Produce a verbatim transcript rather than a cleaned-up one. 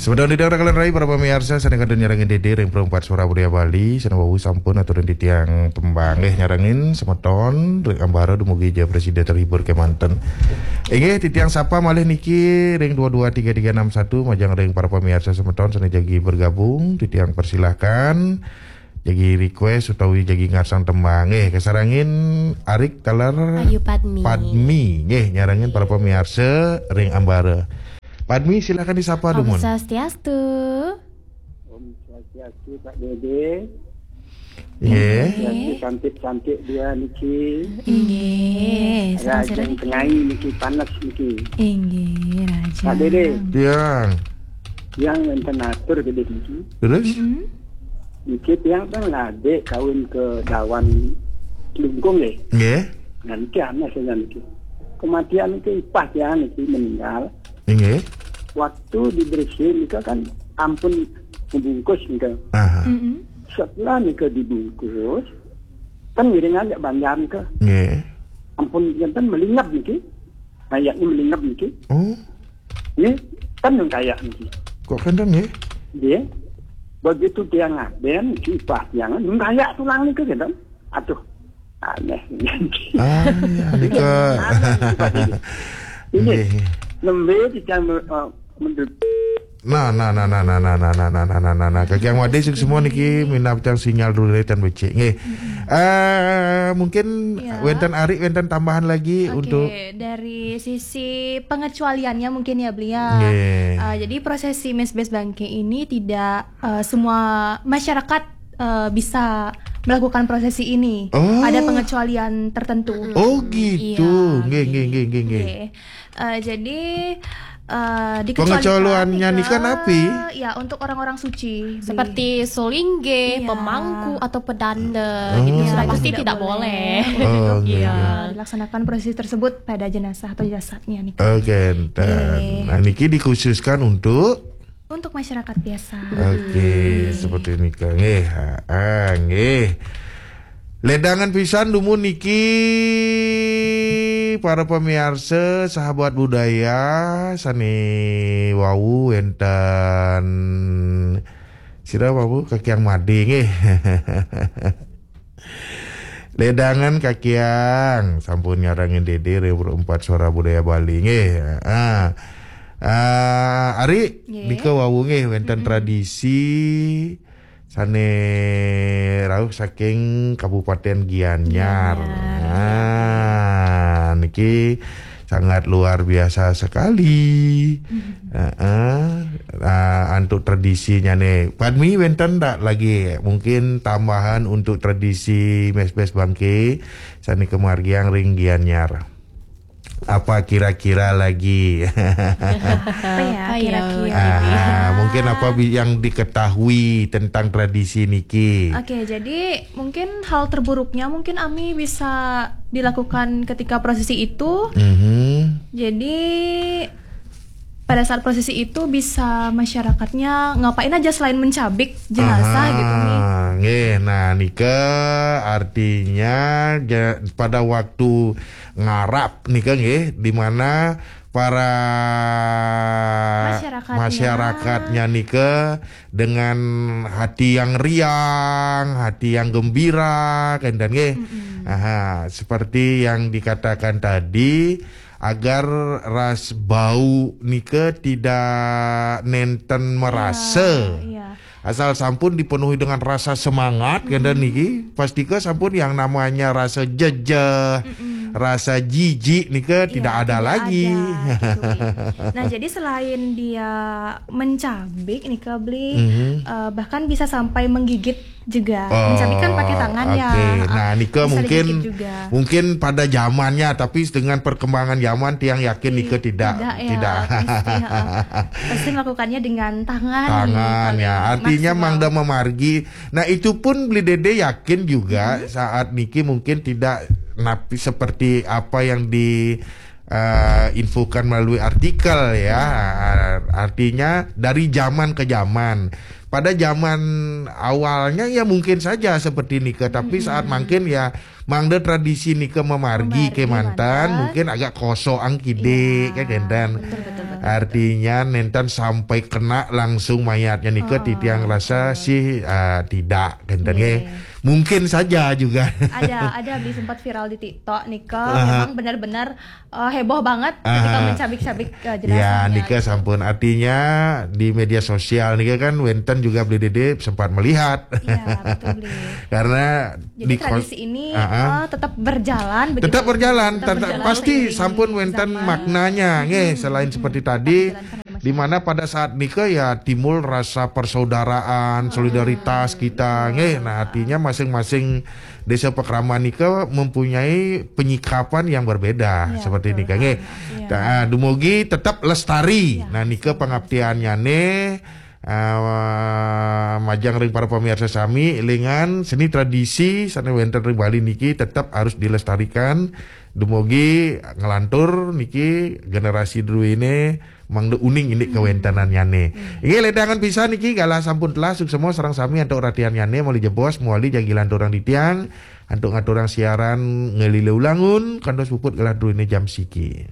Semeton titiang raka lan rai, para pamiarsa, sané kantun nyarengin Dédé ring Perempat Suara Budaya Bali, sané wau sampun aturin titiang tembang. Nggih, nyarengin semeton ring ambara dumugi ja prasida terhibur kémanten. Inggih, titiang sapa malih niki ring dua dua tiga tiga enam satu, majeng ring para pamiarsa semeton sané jagi bergabung, titiang persilahkan. Jagi request utawi jagi ngarsang tembang. Nggih, kasarengin Arik taler Ayu Padmi. Padmi. Nggih, nyarengin para pamiarsa ring ambara. Padmi, silakan disapa, Om dumun. Swastiastu. Om Swastiastu, Pak Dédé. Nggih. Swastiastu, cantik-cantik dia niki. Inggih, Raja Tengai niki, panas niki. Inggih, Raja. Pak Dédé. Tiang. Tiang wénten atur gedé niki. Terus? Mm-mm. Niki tiang kan ngadé kawin ke Dawan Klungkung nggih. Nggih. Nah, niki aneh saja niki. Kematian niki ipah tiang niki meninggal. Inggih. Waktu dibersihin nika kan ampun dibungkus nika. Aha. Mm-mm. Setelah nika dibungkus, kan ngiringan jak banjar nika. Nggih. Ampun enten melingap niki. Mayatnya melingap niki. Oh. Nggih, kan nun kayak niki. Kok kénten nggih? Nggih. Begitu tiang ngadén niki, ipah tiang nun kayak tulang niki kénten. Aduh, aneh. Ah, ya, nika. Aneh niki, Pak Dédé. Ini nggih. Nembé tiang, eh, mendut. Nah, nah, nah, nah, nah, nah, nah, nah, nah, nah, nah, nah, nah. Kakiang Madé, suksma niki, minab tiang sinyal dulu tan becik. Nggih. Eh, mungkin ya. Wénten Ari, wénten tambahan lagi. Oke, untuk dari sisi pengecualiannya mungkin ya, Bli, ya. Nggih. Eh, jadi prosesi Mesbes Bangké ini tidak, eh, semua masyarakat, eh, bisa melakukan prosesi ini. Oh. Ada pengecualian tertentu. Oh, gitu. Iya, nggih, nggih, nggih, nggih, nggih. Nggih. Eh, jadi, eh, dikecualikan. Pengecualiannya nika, nika napi? Ya, untuk orang-orang suci. Seperti sulinggih, iya, pemangku, atau pedanda. Oh. Gitu. Iya, sudah pasti tidak boleh. Oh, iya. Iya. Dilaksanakan prosesi tersebut pada jenazah atau jasadnya nika. Oke, enten. Nggih. Nah, niki dikhususkan untuk Untuk masyarakat biasa. Oke, seperti nika nggih. Ha, nggih. Ledangan pisan dumun niki, para pamiarsa, sahabat budaya, sané wau wénten sira wau Kakiang Madé nggih. Ledangan Kakiang, sampun nyarengin Dédé ring Perempat Suara Budaya Bali nggih. Ah. Ah, Ari, nggih. Nika wau nggih wénten tradisi sané rauh saking Kabupaten Gianyar. Gianyar. Ah, niki sangat luar biasa sekali. Heeh. Ah, antuk tradisinya nih. Padmi, wénten ndak lagi mungkin tambahan untuk tradisi Mesbes Bangké sané kamargiang ring Gianyar? Apa kira-kira lagi? Apa ya, apa ya, kira-kira? Ah, mungkin apa bi-, yang diketahui tentang tradisi niki? Oke, jadi mungkin hal terburuknya mungkin Ami bisa dilakukan ketika prosesi itu. Mhm. Jadi pada saat prosesi itu bisa masyarakatnya ngapain aja selain mencabik jenazah gitu nih. Aha, nggih. Nah, nika artinya ja-, pada waktu ngarap nika nggih, di mana para masyarakatnya. Masyarakatnya nika dengan hati yang riang, hati yang gembira, kénten nggih. Mm-mm. Aha, seperti yang dikatakan tadi, agar ras bau nika tidak nénten merasa. Iya, iya. Asal sampun dipenuhi dengan rasa semangat, kénten niki, pastika sampun yang namanya rasa jejeh, mm-mm, rasa jijik nika, iya, tidak ada lagi. Tidak ada, gitu. Nah, jadi selain dia mencabik nika, Bli, mhm, eh, bahkan bisa sampai menggigit juga. Oh, mencabik kan pakai tangan ya. Oke. Nah, nika bisa mungkin digigit juga. Mungkin pada zamannya, tapi dengan perkembangan zaman, tiang yakin nika tidak, tidak ya, tidak. Pasti, heeh. Pasti melakukannya dengan tangan. Tangan, paling ya. Artinya maksimal. Mangda mamargi. Nah, itu pun Bli Dédé yakin juga, mhm, saat niki mungkin tidak napi seperti apa yang di eh, infokan melalui artikel ya. Artinya dari zaman ke zaman. Pada zaman awalnya ya mungkin saja seperti nika, tapi, mm-mm, saat mangkin ya mangda tradisi nika mamargi Mamargi kemanten, manten. Mungkin agak kosong kide, Iya, kan, kenten. Betul, betul, betul. Artinya nentan sampai kena langsung mayatnya nika Oh, titiang rasa betul. Sih, ah, tidak, kenten, Iya. Nggih. Mungkin saja juga. Ada, ada beli sempat viral di TikTok nika, Aha. Memang benar-benar eh, heboh banget ketika Aha. mencabik-cabik eh, Ya, jenazahnya. Nika sampun, artinya di media sosial nika kan wenten juga beli dede sempat melihat. Iya, betul, beli. Karena Jadi di kos- tradisi ini Ah, ah. eh, tetap berjalan begitu. Tetap berjalan, Tetap tetap- berjalan pasti seiring sampun wenten zaman. Maknanya, nggih, selain seperti tadi, Berjalan karena di mana pada saat nika ya timbul rasa persaudaraan, solidaritas kita, nggih. Nah, artinya masing-masing desa pakraman nika mempunyai penyikapan yang berbeda Iya, seperti betul. nika, nggih. Iya. Nah, dumugi tetap lestari. Iya. Nah, nika pangaptiannyane, eh, majeng ring para pemirsa sami, elingan seni tradisi sane wenten ring Bali niki tetap harus dilestarikan. Dumugi ngelantur niki generasi druene mangda uning indik kawentenannyane. Inggih, ledangan pisan niki galah sampun telah, suksma sareng sami antuk ratiannyane, mawali jebos, mawali jagi lanturang titiang antuk ngaturang siaran ngelile ulangun, kantos puput galah druene jam siki.